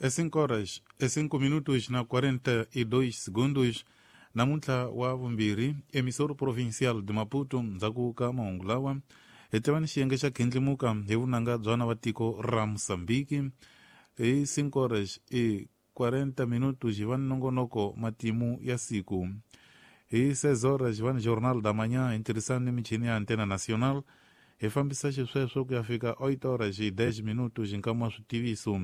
É 5 horas e 5 minutos na 42 segundos. Namuntlha wa vumbirhi, emissor provincial de Maputo, ndzhaku ka mahungu lawa hi tiva ni xiyenge xa khindlimuka hi vunanga bya vana va tiko ra Mosambiki. Hi 5 horas e 40 minutos hi va ni nongonoko matimu ya siku. Hi 6 horas hi va ni Jornal da Manhã hi ntirhisano ni michini ya Antena Nacional. Hi fambisa xisweswo ku ya fika 8 horas e 10 minutos hi nkama wa switiviso.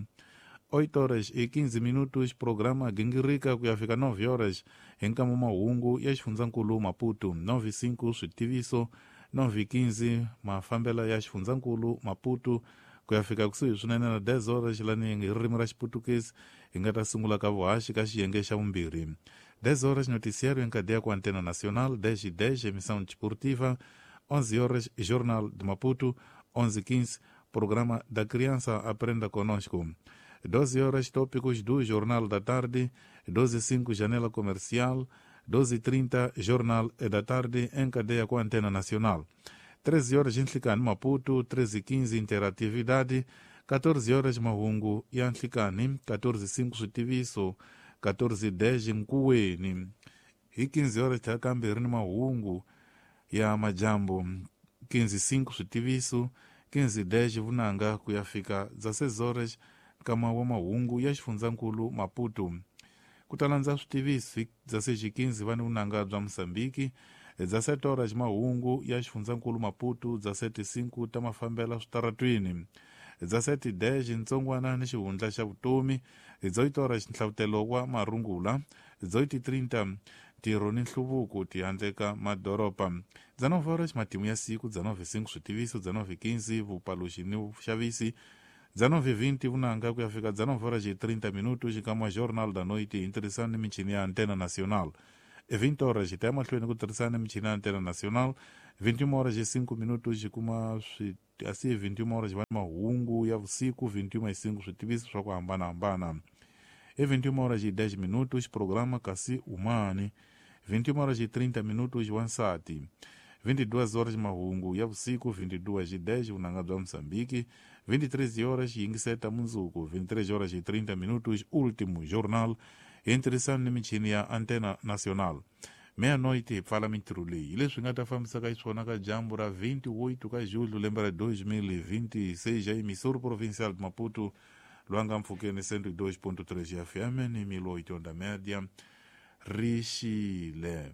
8 horas e 15 minutos programa gingirika ku ya fika 9 horas hi nkama mahungu ya xifundzankulu Maputo. 9:05 switiviso, 9:15 mafambela ya xifundzankulu Maputo ku ya fika kusuhi swinene na 10 horas lani hi ririmi ra Xiputukezi hi nga ta sungula ka vuhaxi ka xiyenge xa vumbirhi. 10 horas noticiário em cadeia com Antena Nacional, 10:10 emissão desportiva, 11 horas Jornal de Maputo, 11:15 programa da Criança Aprenda Conosco. 12 horas tópicos do Jornal da Tarde, 12:05 Janela Comercial, 12:30 Jornal da Tarde em cadeia com Antena Nacional. 13 horas Nhlikani Maputo, 13:15 Interatividade, 14 horas Mahungu ya Nhlikani, 14:05 Switiviso, 14:10 Nkuweni. Hi 15 horas tlhakambirhi ni mahungu ya majambu, 15:05 Switiviso, 15:10 Vunanga ku ya fika 16 horas nkama wa mahungu ya xifundzankulu Maputo. Ku ta landza switiviso 16:15 va ni vunanga bya Mosambiki, 17 horas mahungu ya xifundzankulu Maputo, 17:05 ta mafambela switaratwini, 17:10 ntsongwana ni xihundla xa vutomi, 18 horas nhlavutelo wa marungula, 18:30 ntirho ni nhluvuko tihandle ka madoroba, 19 horas matimu ya siku, 19:05 switiviso, 19:15 vupaluxi ni vuxavisi, 19:20 vunanga ku ya fika 19 horas e 30 minutos nkama Jornal da Noite hi ntirhisano ni michini ya Antena Nacional. 20 horas hi ta ya mahlweni ku tirhisana ni michini ya Antena Nacional. 21 horas e 5 minutos hi kuma asi 21 horas va ni mahungu ya vusiku, 21:05 switiviso swa ku hambanahambana. E 21 horas e 10 minutos programa Kasi Umani, 21 horas e 30 minutos wansati, 22 horas mahungu ya vusiku, 22:10 vunanga bya Mosambiki, 23 horas yingiseta mundzuku, 23 horas e 30 minutos último jornal hi ntirhisano ni michini ya Antena Nacional. Meia-noite hi pfala mintirho leyi hi leswi nga ta fambisaka xiswona ka dyambu ra 28 ka julho lembe ra 2026 ya emissor provincial de Maputo, lwanga mpfhukeni 102.3 FM ni 1080 média rixile.